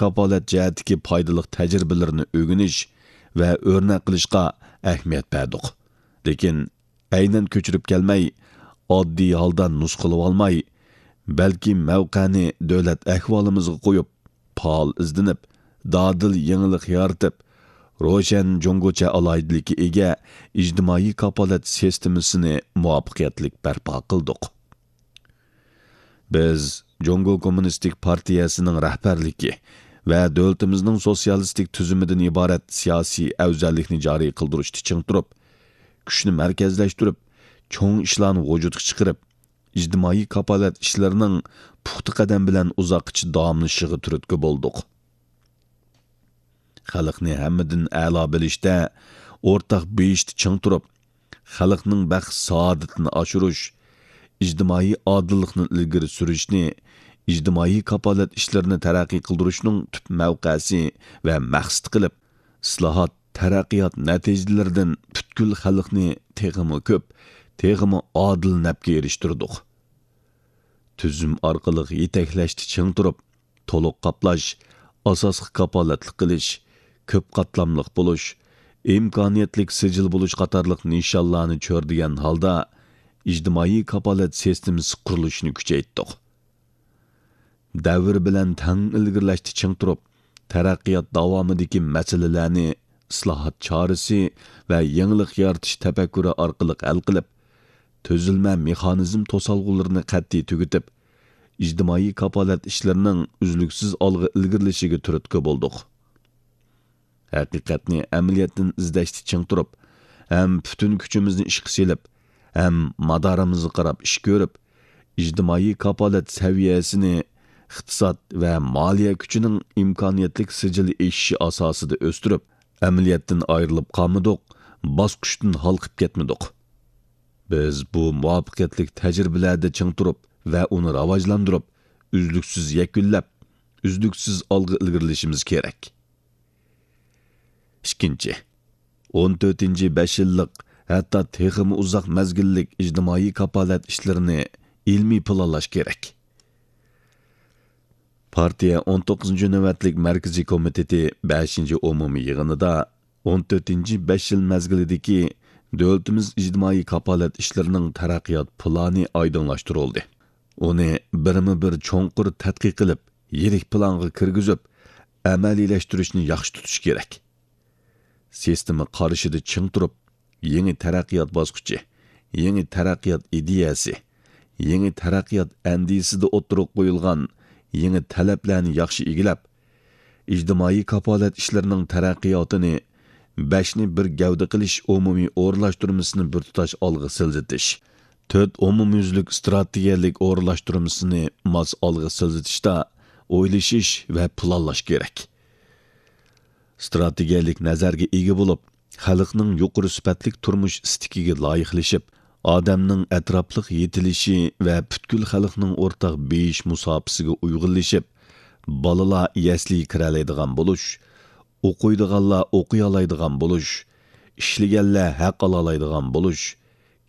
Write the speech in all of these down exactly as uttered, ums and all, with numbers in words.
كاپالەت جەھەتتىكى پايدىلىق تەجرىبىلىرىنى ئۆگىنىش ۋە ئۆرنەك قىلىشقا ئەھمىيەت بەردۇق. لېكىن ئەينەن كۆچۈرۈپ كەلمەي، ئاددىي ھالدا نۇسخىلىۋالماي، بەلكى مەۋقەنى دۆلەت ئەھۋالىمىزغا قويۇپ، پائال ئىزدىنىپ، دادىل يېڭىلىق يارىتىپ، روشەن جۇڭگوچە ئالاھىدىلىككە ئىگە ئىجتىمائىي كاپالەت سىستېمىسىنى مۇۋەپپەقىيەتلىك بەرپا قىلدۇق. بىز جۇڭگو كوممۇنىستىك پارتىيەسىنىڭ رەھبەرلىكى ۋە دۆلىتىمىزنىڭ سوتسىيالىستىك تۈزۈمىدىن ئىبارەت سىياسىي ئەۋزەللىكنى جارى قىلدۇرۇشتا چىڭ تۇرۇپ، كۈچنى مەركەزلەشتۈرۈپ، چوڭ ئىشلارنى ۋۇجۇدقا چىقىرىپ، ئىجتىمائىي كاپالەت ئىشلىرىنىڭ پۇختا قەدەم بىلەن ئۇزاققىچە داۋاملىشىشىغا تۈرتكە بولدۇق. خەلقنى ھەممىدىن ئەلا بىلىشتە، ئورتاق بېيىشتا چىڭ تۇرۇپ، خەلقنىڭ بەخت-سائادىتىنى ئاشۇرۇش، ئىجتىمائىي ئادىللىقنى ئىلگىرى سۈرۈشنى، ئىجتىمائىي كاپالەت ئىشلىرىنى تەرەققىي قىلدۇرۇشنىڭ تۈپ مەۋقەسى ۋە مەقسىتى قىلىپ، ئىسلاھات، تەرەققىيات نەتىجىلىرىدىن پۈتكۈل خەلقنى تېخىمۇ كۆپ، تېخىمۇ ئادىل نەپكە ئېرىشتۈردۇق. تۈزۈم ئارقىلىق يېتەكلەشتە چىڭ تۇرۇپ، تولۇق قاپلاش، ئاساسقا كاپالەتلىك قىلىش، كۆپ قاتلاملىق بولۇش، ئىمكانىيەتلىك سىجىل بولۇش قاتارلىق نىشانلارنى چۆرىدىگەن ھالدا ئىجتىمائىي كاپالەت سىستېمىسى قۇرۇلۇشىنى كۈچەيتتۇق. دەۋر بىلەن تەڭ ئىلگىرىلەشتە چىڭ تۇرۇپ، تەرەققىيات داۋامىدىكى مەسىلىلەرنى ئىسلاھات چارىسى ۋە يېڭىلىق يارىتىش تەپەككۇرى ئارقىلىق ھەل قىلىپ، تۈزۈلمە مېخانىزم توسالغۇلىرىنى قەتئىي تۈگىتىپ، ئىجتىمائىي كاپالەت ئىشلىرىنىڭ ئۈزلۈكسىز ئالغا ئىلگىرىلىشىگە تۈرتكە بولدۇق. ھەقىقەتنى ئەمەلىيەتتىن ئىزدەشتە چىڭ تۇرۇپ، ھەم پۈتۈن كۈچىمىزنى ئىشقا سېلىپ، ھەم مادارىمىزغا قاراپ ئىش كۆرۈپ، ئىجتىمائىي كاپالەت سەۋىيەسىنى ئىقتىساد ۋە مالىيە كۈچىنىڭ ئىمكانىيەتلىك سىجىل ئېشىشى ئاساسىدا ئۆستۈرۈپ، ئەمەلىيەتتىن ئايرىلىپ قالمىدۇق، باسقۇچتىن ھالقىپ كەتمىدۇق. بىز بۇ مۇۋەپپەقىيەتلىك تەجرىبىلەردە چىڭ تۇرۇپ ۋە ئۇنى راۋاجلاندۇرۇپ، ئۈزلۈكسىز يەكۈنلەپ، ئۈزلۈكسىز ئالغا ئىلگىرىلىشىمىز كېرەك. ئىككىنچى، ئون تۆتىنچى بەش يىللىق، ھەتتا تېخىمۇ ئۇزاق مەزگىللىك ئىجتىمائىي كاپالەت ئىشلىرىنى ئىلمىي پىلانلاش كېرەك. پارتىيە ئون توققۇزىنچى نۆۋەتلىك مەركىزىي كومىتېتى بەشىنچى ئومۇمىي يىغىنىدا ئون تۆتىنچى بەش يىل مەزگىلىدىكى دۆلىتىمىز ئىجتىمائىي كاپالەت ئىشلىرىنىڭ تەرەققىيات پىلانى ئايدىڭلاشتۇرۇلدى. ئۇنى بىرمۇ بىر چوڭقۇر تەتقىق قىلىپ، يىرىك پىلانغا كىرگۈزۈپ، ئەمەلىيلەشتۈرۈشنى ياخشى تۇتۇش كېرەك. سىستېما قارىشىدا چىڭ تۇرۇپ، يېڭى تەرەققىيات باسقۇچى، يېڭى تەرەققىيات ئىدىيەسى، يېڭى تەرەققىيات ئەندىزىسىدە ئوتتۇرىغا قويۇلغان يېڭى تەلەپلەرنى ياخشى ئىگىلەپ، ئىجتىمائىي كاپالەت ئىشلىرىنىڭ تەرەققىياتىنى بەشنى بىر گەۋدە قىلىش ئومۇمىي ئورۇنلاشتۇرمىسىنى بىر تۇتاش ئالغا سىلجىتىش، تۆت ئومۇميۈزلۈك ئىستراتېگىيەلىك ئورۇنلاشتۇرمىسىنى ماس ئالغا سىلجىتىشتا ئويلىشىش ۋە پىلانلاش كېرەك. ئىستراتېگىيەلىك نەزەرگە ئىگە بولۇپ، خەلقنىڭ يۇقىرى سۈپەتلىك تۇرمۇش ئىستىكىگە لايىقلىشىپ، ئادەمنىڭ ئەتراپلىق يېتىلىشى ۋە پۈتكۈل خەلقنىڭ ئورتاق بېيىش مۇساپىسىگە ئۇيغۇنلىشىپ، بالىلار يەسلىگە كىرەلەيدىغان بولۇش، ئوقۇيدىغانلار ئوقۇيالايدىغان بولۇش، ئىشلىگەنلەر ھەق ئالالايدىغان بولۇش،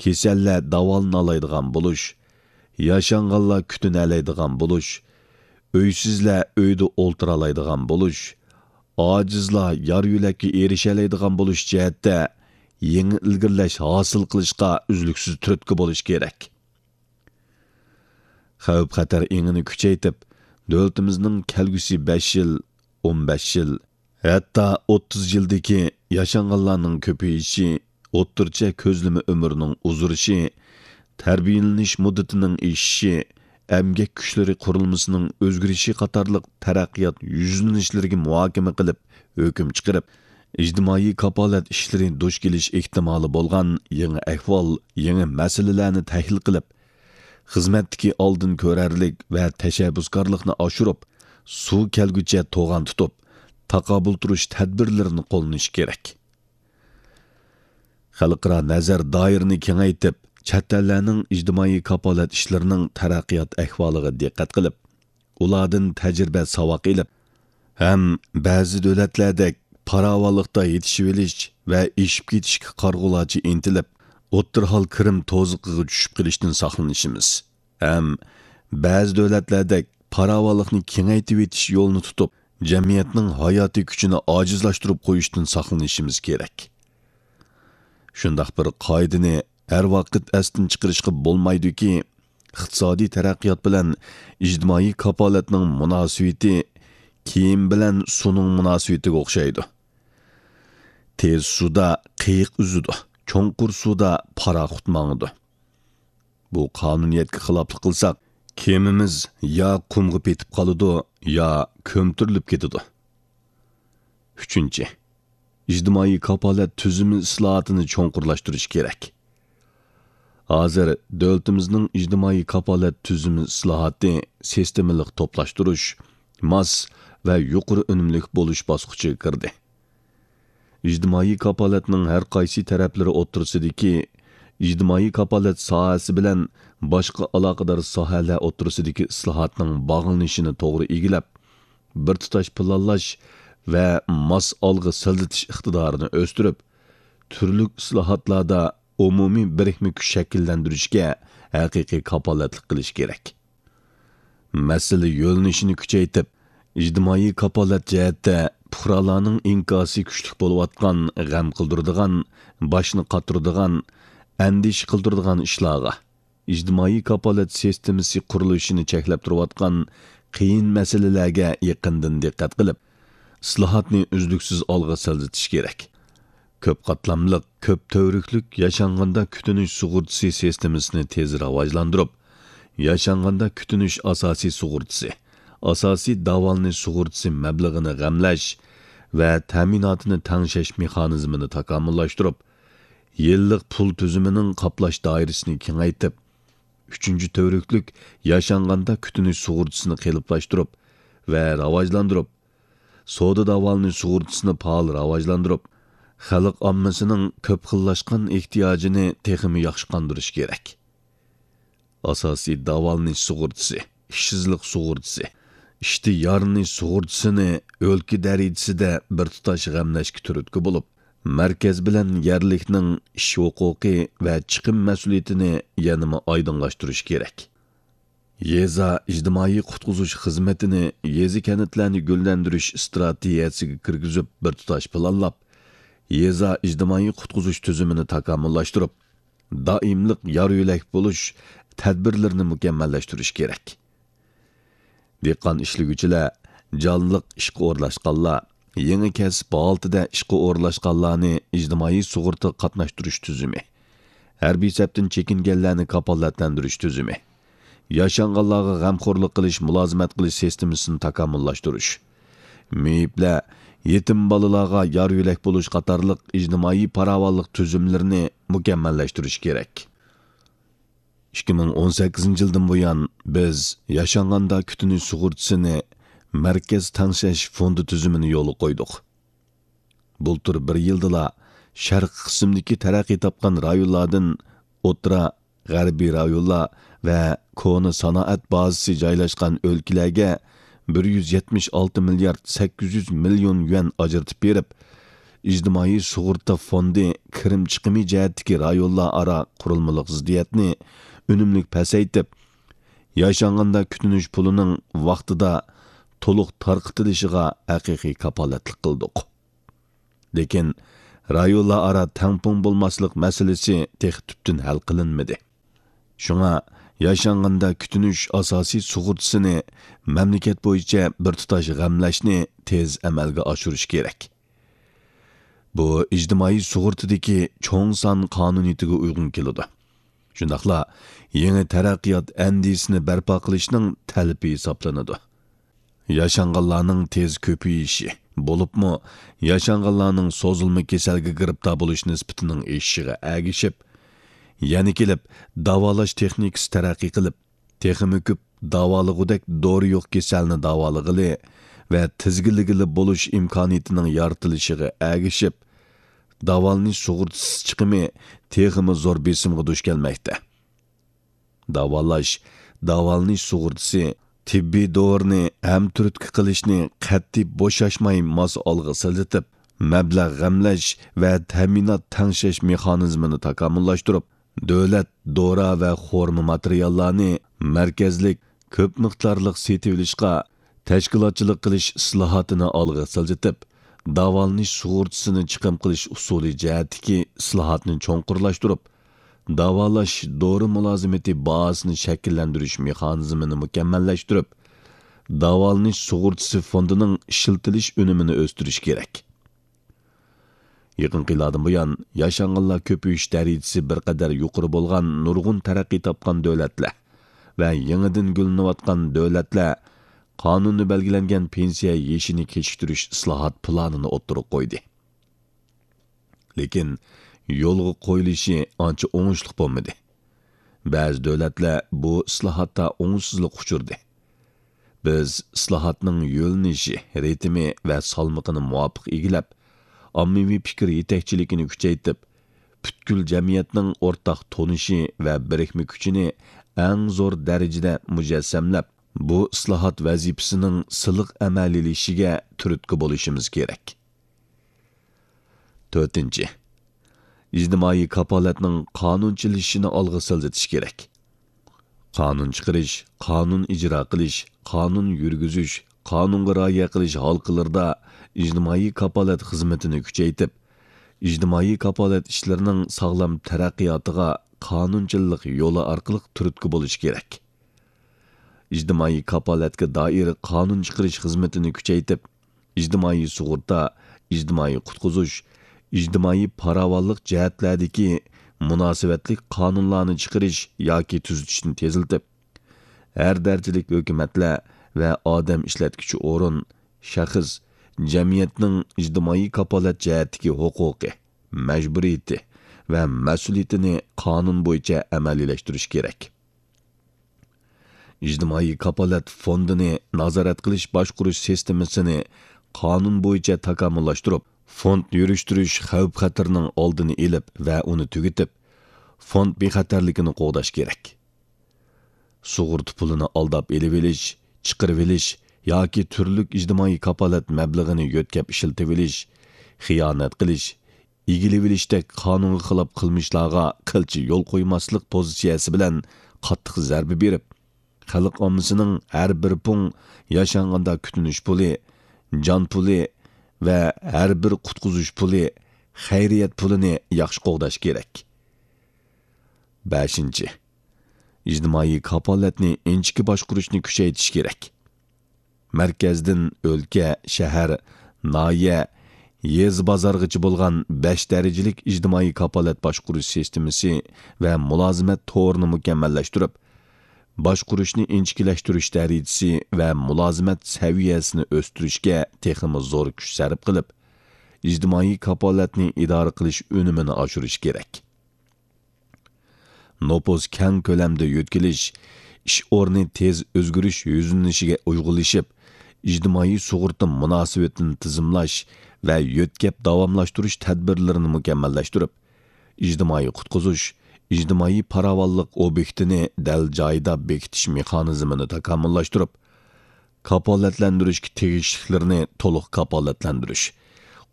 كېسەللەر داۋالىنالايدىغان بولۇش، ياشانغانلار كۈتۈنەلەيدىغان بولۇش، ئۆيسىزلەر ئۆيدە ئولتۇرالايدىغان بولۇش، ئاجىزلار يار-يۆلەككە ئېرىشەلەيدىغان بولۇش جەھەتتە يېڭى ئىلگىرىلەش ھاسىل قىلىشقا ئۈزلۈكسىز تۈرتكە بولۇش كېرەك. خەۋپ-خەتەر ئېڭىنى كۈچەيتىپ، دۆلىتىمىزنىڭ كەلگۈسى بەش يىل، ئون بەش يىل، ھەتتا ئوتتۇز يىلدىكى ياشانغانلارنىڭ كۆپىيىشى، ئوتتۇرىچە كۆزلىمە ئۆمرىنىڭ ئۇزىرىشى، تەربىيەلىنىش مۇددىتىنىڭ ئېشىشى، ئەمگەك كۈچلىرى قۇرۇلمىسىنىڭ ئۆزگىرىشى قاتارلىق تەرەققىيات يۈزلىنىشلىرىگە مۇھاكىمە قىلىپ، ھۆكۈم چىقىرىپ، ئىجتىمائىي كاپالەت ئىشلىرى دۇچ كېلىش ئېھتىمالى بولغان يېڭى ئەھۋال، يېڭى مەسىلىلەرنى تەھلىل قىلىپ، خىزمەتتىكى ئالدىن كۆرەرلىك ۋە تەشەببۇسكارلىقنى ئاشۇرۇپ، سۇ كەلگۈچە توغان تۇتۇپ، تاقابىل تۇرۇش تەدبىرلىرىنى قوللىنىش كېرەك. خەلقئارا نەزەر دائىرىنى كېڭەيتىپ، چەت ئەللەرنىڭ ئىجتىمائىي كاپالەت ئىشلىرىنىڭ تەرەققىيات ئەھۋالىغا دىققەت قىلىپ، ئۇلاردىن تەجرىبە ساۋاق ئېلىپ، ھەم بەزى دۆلەتلەردەك پاراۋانلىقتا يېتىشىۋېلىش ۋە ئېشىپ كېتىشكە قارىغۇلارچە ئىنتىلىپ، ئوتتۇرا ھال كىرىم توزۇقىغا چۈشۈپ قېلىشتىن ساقلىنىشىمىز، ھەم بەزى دۆلەتلەردەك پاراۋانلىقنى كېڭەيتىۋېتىش يولىنى تۇتۇپ، جەمئىيەتنىڭ ھاياتىي كۈچىنى ئاجىزلاشتۇرۇپ قويۇشتىن ساقلىنىشىمىز كېرەك. شۇنداق بىر قائىدىنى ھەر ۋاقىت ئەستىن چىقىرىشقا بولمايدۇكى، ئىقتىسادىي تەرەققىيات بىلەن ئىجتىمائىي كاپالەتنىڭ مۇناسىۋىتى كىيىم بىلەن سۇنىڭ مۇناسىۋىتىگە ئوخشايدۇ. تېز سۇدا قېيىق ئۈزىدۇ، چوڭقۇر سۇدا پاراخوت ماڭىدۇ. بۇ قانۇنىيەتكە خىلاپلىق قىلساق، كېمىمىز يا قۇمغا پېتىپ قالىدۇ، يا كۆمتۈرۈلۈپ كېتىدۇ. ئۈچىنچى، ئىجتىمائىي كاپالەت تۈزۈمى ئىسلاھاتىنى چوڭقۇرلاشتۇرۇش كېرەك. ھازىر دۆلىتىمىزنىڭ ئىجتىمائىي كاپالەت تۈزۈمى ئىسلاھاتى سىستېمىلىق توپلاشتۇرۇش، ماس ۋە يۇقىرى ئۈنۈملۈك بولۇش باسقۇچىغا كىردى. ئىجتىمائىي كاپالەتنىڭ ھەر قايسى تەرەپلىرى ئوتتۇرىسىدىكى، ئىجتىمائىي كاپالەت ساھەسى بىلەن باشقا ئالاقىدار ساھەلەر ئوتتۇرىسىدىكى ئىسلاھاتنىڭ باغلىنىشىنى توغرا ئىگىلەپ، بىر تۇتاش پىلانلاش ۋە ماس ئالغا سىلجىتىش ئىقتىدارىنى ئۆستۈرۈپ، تۈرلۈك ئىسلاھاتلاردا ئومۇمىي بىرىكمە كۈچ شەكىللەندۈرۈشكە ھەقىقىي كاپالەتلىك قىلىش كېرەك. مەسىلە يۆنىلىشىنى كۈچەيتىپ، ئىجتىمائىي كاپالەت جەھەتتە پۇقرالارنىڭ ئىنكاسى كۈچلۈك بولۇۋاتقان، غەم قىلدۇرىدىغان، باشنى قاتۇرىدىغان، ئەندىشە قىلدۇرىدىغان ئىشلارغا، ئىجتىمائىي كاپالەت سىستېمىسى قۇرۇلۇشىنى چەكلەپ تۇرۇۋاتقان قىيىن مەسىلىلەرگە يېقىندىن دىققەت قىلىپ، ئىسلاھاتنى ئۈزلۈكسىز ئالغا سىلجىتىش كېرەك. كۆپ قاتلاملىق، كۆپ تۈۋرۈكلۈك ياشانغاندا كۈتۈنۈش سۇغۇرتىسى سىستېمىسىنى تېز راۋاجلاندۇرۇپ، ياشانغاندا كۈتۈنۈش ئاساسىي سۇغۇرتىسى، ئاساسىي داۋالىنىش سۇغۇرتىسى مەبلىغىنى غەملەش ۋە تەمىناتىنى تەڭشەش مېخانىزمىنى تاكامۇللاشتۇرۇپ، يىللىق پۇل تۈزۈمىنىڭ قاپلاش دائىرىسىنى كېڭەيتىپ، ئۈچىنچى تۈۋرۈكلۈك ياشانغاندا كۈتۈنۈش سۇغۇرتىسىنى قېلىپلاشتۇرۇپ ۋە راۋاجلاندۇرۇپ، سودا داۋالىنىش سۇغۇرتىسىنى پائال راۋاجلاندۇرۇپ، خەلق ئاممىسىنىڭ كۆپ خىللاشقان ئېھتىياجىنى تېخىمۇ ياخشى قاندۇرۇش كېرەك. ئاساسىي داۋالىنىش سۇغۇرتىسى، ئىشسىزلىق سۇغۇرتىسى، ئىشتىن يارىنىش سۇغۇرتىسىنى ئۆلكە دەرىجىسىدە بىر تۇتاش غەملەشكە تۈرتكە بولۇپ، مەركەز بىلەن يەرلىكنىڭ ئىش ھوقۇقى ۋە چىقىم مەسئۇلىيىتىنى يەنىمۇ ئايدىڭلاشتۇرۇش كېرەك. يېزا ئىجتىمائىي قۇتقۇزۇش خىزمىتىنى يېزا، كەنتلەرنى گۈللەندۈرۈش ئىستراتېگىيەسىگە كىرگۈزۈپ، بىر تۇتاش پىلانلاپ، يېزا ئىجتىمائىي قۇتقۇزۇش تۈزۈمىنى تاكامۇللاشتۇرۇپ، دائىملىق يار يۆلەك بولۇش تەدبىرلىرىنى مۇكەممەللەشتۈرۈش كېرەك. دېھقان ئىشلىگۈچىلەر، جانلىق ئىشقا ئورۇنلاشقانلار، يېڭى كەسىپ ھالىتىدە ئىشقا ئورۇنلاشقانلارنى ئىجتىمائىي سۇغۇرتىغا قاتناشتۇرۇش تۈزۈمى، ھەربىي سەپتىن چېكىنگەنلەرنى كاپالەتلەندۈرۈش تۈزۈمى، ياشانغانلارغا غەمخورلۇق قىلىش، مۇلازىمەت قىلىش سىستېمىسىنى تاكامۇللاشتۇرۇش، مېيىپلەر، يېتىم بالىلارغا يار يۆلەك بولۇش قاتارلىق ئىجتىمائىي پاراۋانلىق تۈزۈملىرىنى مۇكەممەللەشتۈرۈش كېرەك. ئىككى مىڭ ئون سەككىزىنچى يىلدىن بۇيان، بىز ياشانغاندا كۈتۈنۈش سۇغۇرتىسىنى مەركەز تەڭشەش فوندى تۈزۈمىنى يولغا قويدۇق. بۇلتۇر بىر يىلدىلا شەرقىي قىسىمدىكى تەرەققىي تاپقان رايونلاردىن ئوتتۇرا، غەربىي رايونلار ۋە كونا سانائەت بازىسى جايلاشقان ئۆلكىلەرگە بىر يۈز يەتمىش ئالتە مىليارد سەككىز يۈز مىليون يۈەن ئاجرىتىپ بېرىپ، ئىجتىمائىي سۇغۇرتا فوندى كىرىم چىقىمى جەھەتتىكى رايونلار ئارا قۇرۇلمىلىق زىددىيەتنى ئۈنۈملۈك پەسەيتىپ، ياشانغاندا كۈتۈنۈش پۇلىنىڭ ۋاقتىدا تولۇق تارقىتىلىشىغا ھەقىقىي كاپالەتلىك قىلدۇق. لېكىن رايونلار ئارا تەڭپۇڭ بولماسلىق مەسىلىسى تېخى تۈپتىن ھەل قىلىنمىدى. شۇڭا ياشانغاندا كۈتۈنۈش ئاساسىي سۇغۇرتىسىنى مەملىكەت بويىچە بىر تۇتاش غەملەشنى تېز ئەمەلگە ئاشۇرۇش كېرەك. بۇ ئىجتىمائىي سۇغۇرتىدىكى چوڭ سان قانۇنىيىتىگە ئۇيغۇن كېلىدۇ. شۇنداقلا يېڭى تەرەققىيات ئەندىزىسىنى بەرپا قىلىشنىڭ تەلىپى ھېسابلىنىدۇ. ياشانغانلارنىڭ تېز كۆپىيىشى، بولۇپمۇ ياشانغانلارنىڭ سوزۇلما كېسەلگە گىرىپتار بولۇش نىسبىتىنىڭ ئېشىشىغا ئەگىشىپ، يەنە كېلىپ داۋالاش تېخنىكىسى تەرەققىي قىلىپ، تېخىمۇ كۆپ داۋالىغۇدەك دورا يوق كېسەلنى داۋالىغىلى ۋە تىزگىنلىگىلى بولۇش ئىمكانىيىتىنىڭ يارىتىلىشىغا ئەگىشىپ، داۋالىنىش سۇغۇرتىسى چىقىمى تېخىمۇ زور بېسىمغا دۇچ كەلمەكتە. داۋالاش، داۋالىنىش سۇغۇرتىسى، تېببىي دورىنى ھەمتۈرتكە قىلىشنى قەتئىي بوشاشماي ماس ئالغا سىلجىتىپ، مەبلەغ غەملەش ۋە تەمىنات تەڭشەش مېخانىزمىنى تاكامۇللاشتۇرۇپ، دۆلەت دورا ۋە خورما ماتېرىياللارنى مەركەزلىك كۆپ مىقدارلىق سېتىۋېلىشقا تەشكىلاتچىلىق قىلىش ئىسلاھاتىنى ئالغا سىلجىتىپ، داۋالىنىش سۇغۇرتىسىنى چىقىم قىلىش ئۇسۇلى جەھەتتىكى ئىسلاھاتنى چوڭقۇرلاشتۇرۇپ، داۋالاش دورا مۇلازىمىتى بازىسىنى شەكىللەندۈرۈش مېخانىزمىنى مۇكەممەللەشتۈرۈپ، داۋالىنىش سۇغۇرتىسى فوندىنىڭ ئىشلىتىلىش ئۈنۈمىنى ئۆستۈرۈش كېرەك. يېقىنقى يىللاردىن بۇيان، ياشانغانلار كۆپىيىش دەرىجىسى بىر قەدەر يۇقىرى بولغان نۇرغۇن تەرەققىي تاپقان دۆلەتلەر ۋە يېڭىدىن گۈللىنىۋاتقان دۆلەتلەر قانۇندا بەلگىلەنگەن پېنسىيە يېشىنى كېچىكتۈرۈش ئىسلاھات پىلانىنى ئوتتۇرىغا قويدى. لېكىن يولغا قويۇلۇشى ئانچە ئوڭۇشلۇق بولمىدى. بەزى دۆلەتلەر بۇ ئىسلاھاتتا ئوڭۇشسىزلىققا ئۇچرىدى. بىز ئىسلاھاتنىڭ يۆنىلىشى، رىتىمى ۋە سالمىقىنى مۇۋاپىق ئىگىلەپ، ئاممىۋى پىكىر يېتەكچىلىكىنى كۈچەيتىپ، پۈتكۈل جەمئىيەتنىڭ ئورتاق تونۇشى ۋە بىرىكمە كۈچىنى ئەڭ زور دەرىجىدە مۇجەسسەملەپ، بۇ ئىسلاھات ۋەزىپىسىنىڭ سىلىق ئەمەلىيلىشىشىگە تۈرتكە بولۇشىمىز كېرەك. تۆتىنچى، ئىجتىمائىي كاپالەتنىڭ قانۇنچىلىشىشىنى ئالغا سىلجىتىش كېرەك. قانۇن چىقىرىش، قانۇن ئىجرا قىلىش، قانۇن يۈرگۈزۈش، قانۇنغا رىئايە قىلىش ھالقىلىرىدا ئىجتىمائىي كاپالەت خىزمىتىنى كۈچەيتىپ، ئىجتىمائىي كاپالەت ئىشلىرىنىڭ ساغلام تەرەققىياتىغا قانۇنچىللىق يولى ئارقىلىق تۈرتكە بولۇش كېرەك. ئىجتىمائىي كاپالەتكە دائىر قانۇن چىقىرىش خىزمىتىنى كۈچەيتىپ، ئىجتىمائىي سۇغۇرتا، ئىجتىمائىي قۇتقۇزۇش، ئىجتىمائىي پاراۋانلىق جەھەتلەردىكى مۇناسىۋەتلىك قانۇنلارنى چىقىرىش ياكى تۈزىتىشنى تېزلىتىپ، ھەر دەرىجىلىك ھۆكۈمەتلەر ۋە ئادەم ئىشلەتكۈچى ئورۇن، شەخس، جەمئىيەتنىڭ ئىجتىمائىي كاپالەت جەھەتتىكى ھوقۇقى، مەجبۇرىيىتى ۋە مەسئۇلىيىتىنى قانۇن بويىچە ئەمەلىيلەشتۈرۈش كېرەك. ئىجتىمائىي كاپالەت فوندىنى نازارەت قىلىش باشقۇرۇش سىستېمىسىنى قانۇن بويىچە تاكامۇللاشتۇرۇپ، فوند يۈرۈشتۈرۈش خەۋپ-خەتىرىنىڭ ئالدىنى ئېلىپ ۋە ئۇنى تۈگىتىپ، فوند بىخەتەرلىكىنى قوغداش كېرەك. سۇغۇرتا پۇلىنى ئالداپ ئېلىۋېلىش، چىقىرىۋېلىش ياكى تۈرلۈك ئىجتىمائىي كاپالەت مەبلىغىنى يۆتكەپ ئىشلىتىۋېلىش، خىيانەت قىلىش، ئىگىلىۋېلىشتەك قانۇنغا خىلاپ قىلمىشلارغا قىلچە يول قويماسلىق پوزىتسىيەسى بىلەن قاتتىق زەربە بېرىپ، خەلق ئاممىسىنىڭ ھەر بىر پۇڭ ياشانغاندا كۈتۈنۈش پۇلى، جان پۇلى ۋە ھەر بىر قۇتقۇزۇش پۇلى، خەيرىيەت پۇلىنى ياخشى قوغداش كېرەك. بەشىنچى، ئىجتىمائىي كاپالەتنى ئىنچىكە باشقۇرۇشنى كۈچەيتىش كېرەك. مەركەزدىن ئۆلكە، شەھەر، ناھىيە، يېزا، بازارغىچە بولغان بەش دەرىجىلىك ئىجتىمائىي كاپالەت باشقۇرۇش سىستېمىسى ۋە مۇلازىمەت تورىنى مۇكەممەللەشتۈرۈپ، باشقۇرۇشنى ئىنچىكىلەشتۈرۈش دەرىجىسى ۋە مۇلازىمەت سەۋىيەسىنى ئۆستۈرۈشكە تېخىمۇ زور كۈچ سەرپ قىلىپ، ئىجتىمائىي كاپالەتنى ئىدارە قىلىش ئۈنۈمىنى ئاشۇرۇش كېرەك. نوپۇس كەڭ كۆلەمدە يۆتكىلىش، ئىش ئورنى تېز ئۆزگىرىش يۈزلىنىشىگە ئۇيغۇنلىشىپ، ئىجتىمائىي سۇغۇرتا مۇناسىۋىتىنى تىزىملاش ۋە يۆتكەپ داۋاملاشتۇرۇش تەدبىرلىرىنى مۇكەممەللەشتۈرۈپ، ئىجتىمائىي قۇتقۇزۇش، ئىجتىمائىي پاراۋانلىق ئوبيېكتىنى دەل جايىدا بېكىتىش مېخانىزمىنى تاكامۇللاشتۇرۇپ، كاپالەتلەندۈرۈشكە تېگىشلىكلىرىنى تولۇق كاپالەتلەندۈرۈش،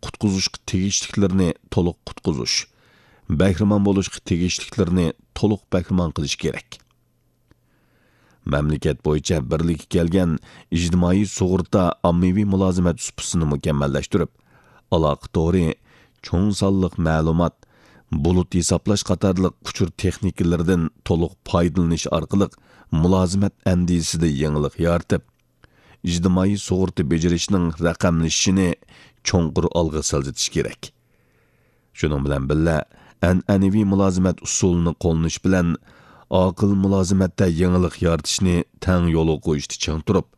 قۇتقۇزۇشقا تېگىشلىكلىرىنى تولۇق قۇتقۇزۇش، بەھرىمەن بولۇشقا تېگىشلىكلىرىنى تولۇق بەھرىمەن قىلىش كېرەك. مەملىكەت بويىچە بىرلىككە كەلگەن ئىجتىمائىي سۇغۇرتا ئاممىۋى مۇلازىمەت سۇپىسىنى مۇكەممەللەشتۈرۈپ، ئالاقە تورى، چوڭ سانلىق مەلۇمات، بۇلۇت ھېسابلاش قاتارلىق ئۇچۇر تېخنىكىلىرىدىن تولۇق پايدىلىنىش ئارقىلىق مۇلازىمەت ئەندىزىسىدە يېڭىلىق يارىتىپ، ئىجتىمائىي سۇغۇرتا بېجىرىشنىڭ رەقەملىشىشىنى چوڭقۇر ئالغا سىلجىتىش كېرەك. شۇنىڭ بىلەن بىللە، ئەنئەنىۋى مۇلازىمەت ئۇسۇلىنى قوللىنىش بىلەن ئاقىل مۇلازىمەتتە يېڭىلىق يارىتىشنى تەڭ يولغا قويۇشتا چىڭ تۇرۇپ،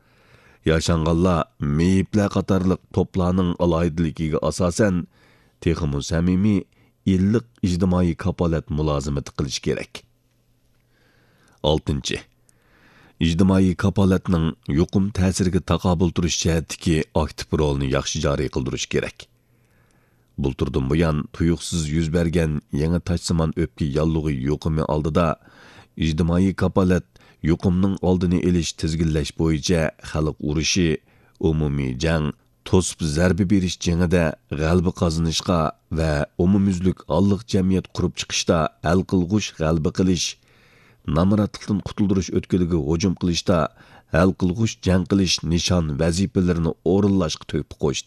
ياشانغانلار، مېيىپلەر قاتارلىق توپلارنىڭ ئالاھىدىلىكىگە ئاساسەن، تېخىمۇ سەمىمىي، ئىللىق ئىجتىمائىي كاپالەت مۇلازىمىتى قىلىش كېرەك. ئالتىنچى، ئىجتىمائىي كاپالەتنىڭ يۇقۇم تەسىرىگە تاقابىل تۇرۇش جەھەتتىكى ئاكتىپ رولىنى ياخشى جارى قىلدۇرۇش كېرەك. بۇلتۇردىن بۇيان تۇيۇقسىز يۈز بەرگەن يېڭى تاجسىمان ئۆپكە ياللۇغى يۇقۇمى ئالدىدا ئىجتىمائىي كاپالەت يۇقۇمنىڭ ئالدىنى ئېلىش، تىزگىنلەش بويىچە خەلق ئۇرۇشى، ئومۇمىي جەڭ، توسۇپ زەربە بېرىش جېڭىدە غەلىبە قازىنىشقا ۋە ئومۇميۈزلۈك ھاللىق جەمئىيەت قۇرۇپ چىقىشتا ھەل قىلغۇچ غەلىبە قىلىش، نامراتلىقتىن قۇتۇلدۇرۇش ئۆتكىلىگە ھۇجۇم قىلىشتا ھەل قىلغۇچ جەڭ قىلىش نىشان ۋەزىپىلىرىنى ئورۇنلاشقا تۆھپە قوشتى.